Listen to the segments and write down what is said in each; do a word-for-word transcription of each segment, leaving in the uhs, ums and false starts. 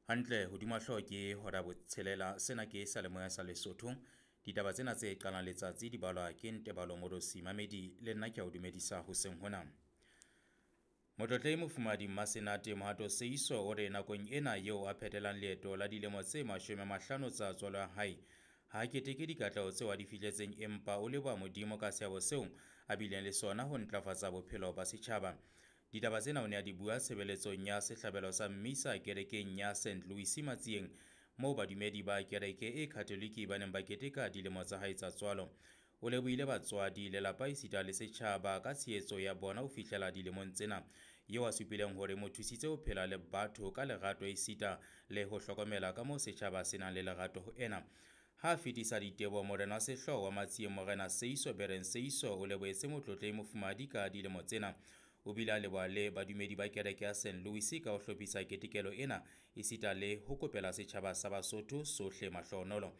Hantle hodima hlooho ke hora botshelela. Sena ke seyalemoya sa Lesotho. Ditaba tsena tse qalang letsatsi di balwa ke Ntebalo Morosi Mamedi le nna ke a o dumedisa hoseng hona. Motlotlehi Mofumahadi Mmasenate Mohato Seiso o re nakong ena eo a phethelang leeto la dilemo tse mashome a mahlano tsa tswalo ya hae, ha a keteke dikatleho tseo a di fihletseng empa o leboha Modimo ka seabo seo a bileng le sona ho ntlafatsa bophelo ba setjhaba. Ditaba tsena o ne a di bua tshebeletsong ya sehlabelo sa mmisa kerekeng ya Saint Louis Matsieng, moo badumedi ba kereke e Katholike ba neng ba keteka dilemo tsa hae tsa tswalo. O lebohile batswadi, lelapa esita le setjhaba ka tshehetso ya bona ho fihlela dilemong tsena, eo a supileng hore mo thusitse ho phela le batho ka lerato esita le ho hlokomela ka moo setjhaba se nang le lerato ho ena. Ha a fetisa diteboho, morena wa sehlooho wa Matsieng Morena Seiso Bereng Seiso o lebohetse motlotlehi mofumahadi ka dilemo tsena. O bile a leboha le badumedi ba kereke ya Saint Louis ka ho hlophisa ketekelo ena esita le ho kopela setjhaba sa Basotho sohle mahlohonolo.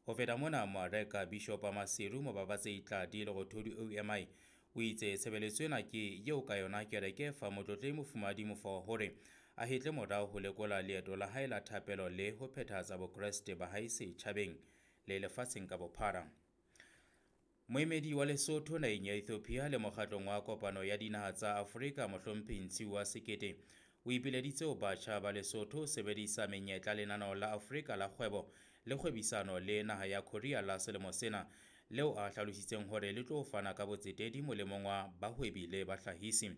Ho feta mona, Moareka Bishop wa Maseru Mobabatsehi Tladi Lerothodi O M I o itse tshebeletso ena ke eo ka yona kereke fa motlotlehi mofumahadi mofa hore a hetle morao ho lekola leeto la hae la thapelo le ho phethahatsa Bokreste ba hae setjhabeng le lefatsheng ka bophara. Moemedi wa Lesotho naheng ya Ethiopia le mokgatlong wa kopano ya dinaha tsa Afrika Mohlomphehi Ntshiwa Sekete o ipileditse ho batjha ba Lesotho ho sebedisa menyetla lenaneo la Afrika la kgwebo le kgwebisano le naha ya Korea la selemo sena, leo a hlalositseng hore le tlo fana ka botsetedi molemong wa bahwebi le bahlahisi.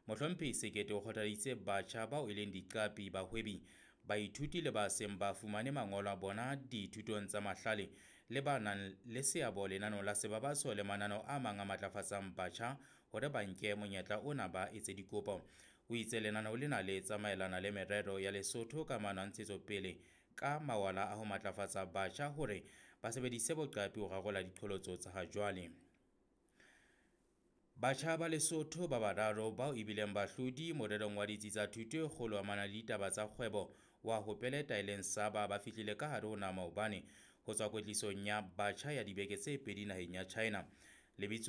Mohlomphehi Sekete o kgothaditse batjha bao e leng diqapi, bahwebi, baithuti le ba seng ba fumane mangolo a bona dithutong tsa mahlale le ba nang le seabo lenaneong la sebabatso le mananeo a mang a matlafatsang batjha hore ba nke monyetla ona ba etse dikopo. O itse lenaneo lena le tsamaelana le merero ya Lesotho ka maano a ntshetsopele ka mawala a ho matlafatsa batjha hore ba sebedise boqapi ho rarolla diqholotso tsa ha jwale. Batjha ba Lesotho ba bararo bao e bileng bahlodi morerong wa ditsi tsa thuto e kgolo amana le ditaba tsa kgwebo wa ho peleta e leng Saba ba fihlile ka hare ho naha maobane ho tswa kwetlisong ya batjha ya dibeke tse pedi naheng ya China. Lebitso